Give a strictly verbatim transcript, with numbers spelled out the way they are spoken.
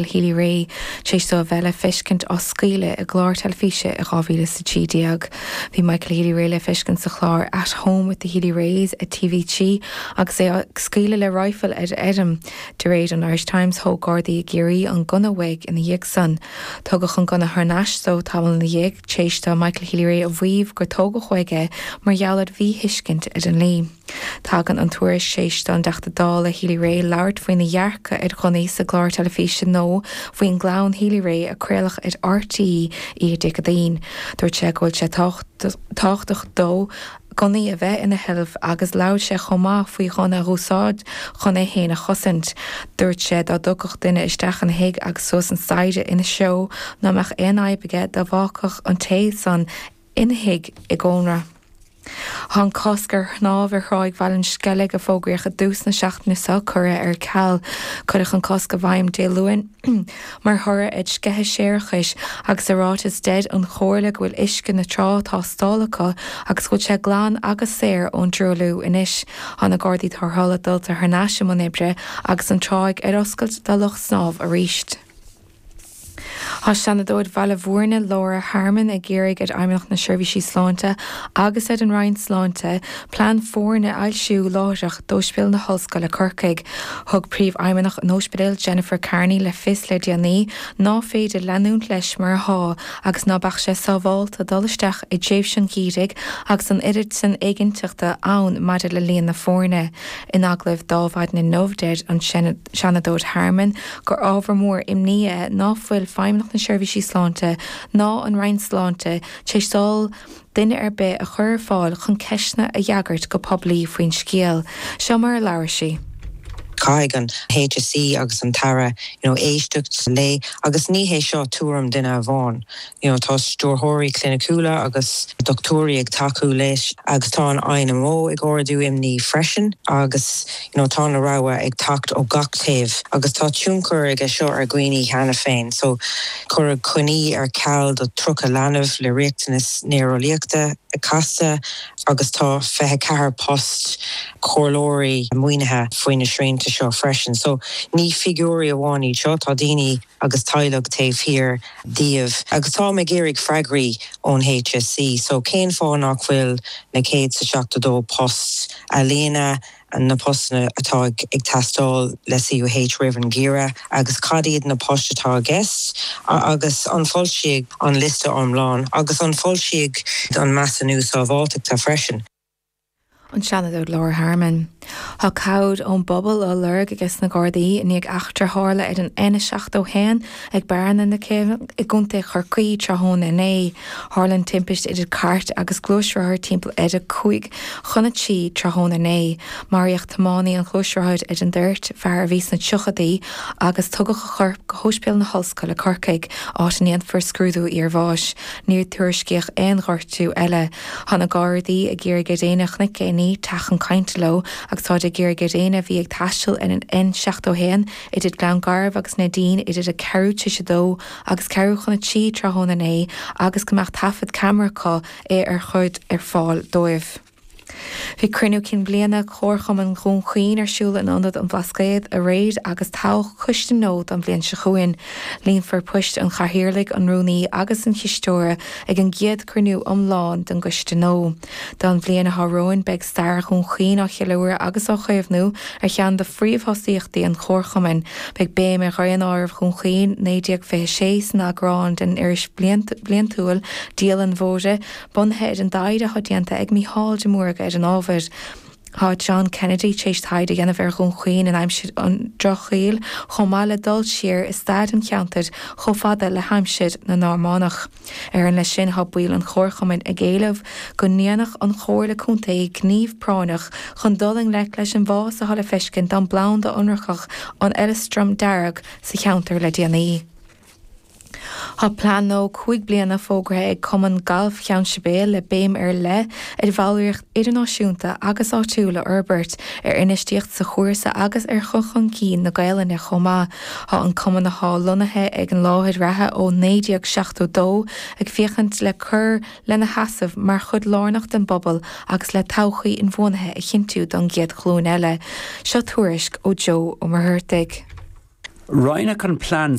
Healy-Rae tar éis dó a bheith le feiscint á scaoileadh i gclár teilifíse i dhá mhíle is a trí déag. Bhí Michael Healy-Rae le feiscint sa chlár At Home with the Healy-Raes ar T V trí agus é ag scaoileadh le raidhfil ar fheirm. De réir an Irish Times, thóg Gardaí i gCiarraí an gunna uaidh ina dhiaidh san. Tugadh an gunna thar n-ais dó tamall ina dhiaidh tar éis do Michael Healy-Rae a mhaíomh gur tógadh uaidh é mar gheall ar mhíthuiscint ar an ndlí. Tagann an tuairisc tar éis don dTeachta Dála Healy-Rae labhairt faoina dhearcadh ar ghunnaí sa gclár teilifíse nua faoin gclann Healy-Rae a craoladh ar R T E oíche Dé Céadaoin. Dúirt sé go bhfuil sé tábhachtach dó gunnaí a bheith ina sheilbh agus labhair sé chomh maith faoi ghunna a úsáid chun é féin a chosaint. Dúirt sé dá dtiocfadh duine isteach ina thigh agus suas an staighre ina threo ná mbeadh aon fhadhb aige dá bhfágfadh an té san ina thigh i gcónra. Tá an cosc ar shnámh ar Thráigh Bhaile an Sceilg a fógraíodh i dtús na seachtaine seo curtha ar ceal. Cuireadh an cosc i bhfeidhm Dé Luain mar thoradh ar sceitheadh séarachais agus i ráiteas deir an Chomhairle go bhfuil uisce na trá tástála acu agus go bhfuil sé glan agus saor ón dtruailliú anois. Tá na Gardaí Tarrthála dulta thar n-ais i mbun oibre agus an tráigh ar oscailt do lucht snámh arís. Tá Seanadóir Bhaile Bhúirne Laura Harmon ag iarraidh ar Fheidhmeannacht na Seirbhísí Sláinte agus ar an Roinn Sláinte plean foirne a fhoilsiú láithreach d'Ospidéal na hOllscoile Corcaigh. Thug Príomhfheidhmeannach an Ospidéil Jennifer Carney le fios le déanaí ná féidir leanúint leis mar atá agus ná beadh sé sábháilte dul isteach i dtréimhse an gheimhridh agus an oiread sin éiginnteachta ann maidir le líon na foirne. In agallamh dá mhaidin inniu deir an Seanadóir Harmon gur ábhar mór imní é ná fuil Feidhmeannacht na Seirbhísí Sláinte ná an Roinn Sláinte tar éis dul duine ar bith a chur ar fáil chun ceisteanna a fhreagairt go poiblí faoin scéal. Seo mar a labhair sí. Caithfidh an H S E agus an tAire, you know, éisteacht léi agus ní hé seo tuairim duine amháin. You know, tá stiúrthóirí cliniciúla agus dochtúirí ag tacú leis agus tá an I N M O ag ardú imní freisin agus, you know, tá na rabhaidh ag teacht ó gach taobh agus tá tionchar aige seo ar dhaoine cheana féin. So cuireadh coinní ar ceal do tríocha leanbh le riachtanas néareolaíochta casta agus tá fiche ceathair post comhairleoirí maoinithe faoi na srianta seo freisin. So ní figiúirí amháin iad seo, tá daoine agus teaghlaigh taobh thiar díobh. Agus tá ag iarraidh freagraí ón H S E, so cén fáth nach bhfuil na céad sa seachtó dó post a líonadh na postanna atá ag, ag teastáil le C U H roimh an gheimhreadh agus cad iad na poist atá i gceist agus an foilsíodh an liosta iomlán agus an foilsíodh an measúnú sábháilteachta freisin. An Seanadóir Laura Harmon. Tá cabhair ón bpobal á lorg aige sna Gardaí i ndiaidh eachtra tharla ar an N seachtó haon ag Bearna na Céibhe i gContae Chorcaí tráthnóna inné. Tharla an timpiste idir cairt agus gluaisrothar timpeall ar a cúig chun a trí tráthnóna inné. Maraíodh tiománaí an ghluaisrothair ar an dtoirt, fear a bhí sna tríochaidí, agus tugadh a chorp go hOspidéal na hOllscoile Corcaigh, áit a ndéanfar scrúdú iarbháis. Níor tuairiscíodh aon ghortú eile. Tá na Gardaí ag iarraidh ar éinne a chonaic éinní teacht chun cainte leo agus tá ag iarraidh ar éinne a bhí ag taisteal ar an N seachtó haon idir Gleann Garbh agus Neidín idir a ceathrú tar éis a dó agus ceathrú chun a trí tráthnóna inné agus go mbeadh taifead ceamara acu é ar chur ar fáil dóibh. Bhí cruinniú cinn bliana Chomharchumann Dhún Chaoin ar siúl in Ionad an Bhlascaoid aréir agus toghadh coiste nua don bhliain seo chugainn. Líonfar poist an Chathaoirligh, an Rúnaí agus an Chisteora ag an gcéad cruinniú iomlán den gcoiste nua. Don bhliain atá romhainn beidh stair Dhún Chaoin á cheiliúradh agus á chaomhnú ar cheann de phríomhthosaíochtaí an Chomharchumainn. Beidh béim ar Dhaonáireamh Dhún Chaoin naoi déag fiche sé san eagrán den iris bliantúil Dialann Mhóire, bunaithe ar an dtaighde atá déanta ag Mícheál de Mórdha ar an ábhar. Tá John Kennedy tar éis taighde a dhéanamh ar Dhún Chaoin in aimsir an Drochshaoil, chomh maith le dul siar i stair an cheantair chomh fada le haimsir na Normannach. Ar an leis sin tá baill an Chomharchumainn ag éileamh go ndéanfadh an Chomhairle Contae gníomh práinneach chun dul i ngleic leis an bhfás atá le feiscint don bplanda ionracach an Fheileastram dearg sa cheantar le déanaí. Tá plean nua cúig bliana fógartha ag Cumann Gailf Cheann Sibéal le béim ar leith ar bhallraíocht idirnáisiúnta agus áitiúil a fhorbairt, ar infheistíocht sa chúrsa agus ar chur chun cinn na Gaelainne chomh maith. Tá an cumann atá lonnaithe ag an láthair reatha ó naoi déag seachtó dó ag féachaint le cur lena sheasamh mar chuid lárnach den bpobal agus le todhchaí inbhuanaithe a chinntiú don gcéad ghlúin eile. Seo tuairisc ó Joe Ó Muircheartaigh. Roinneadh an plean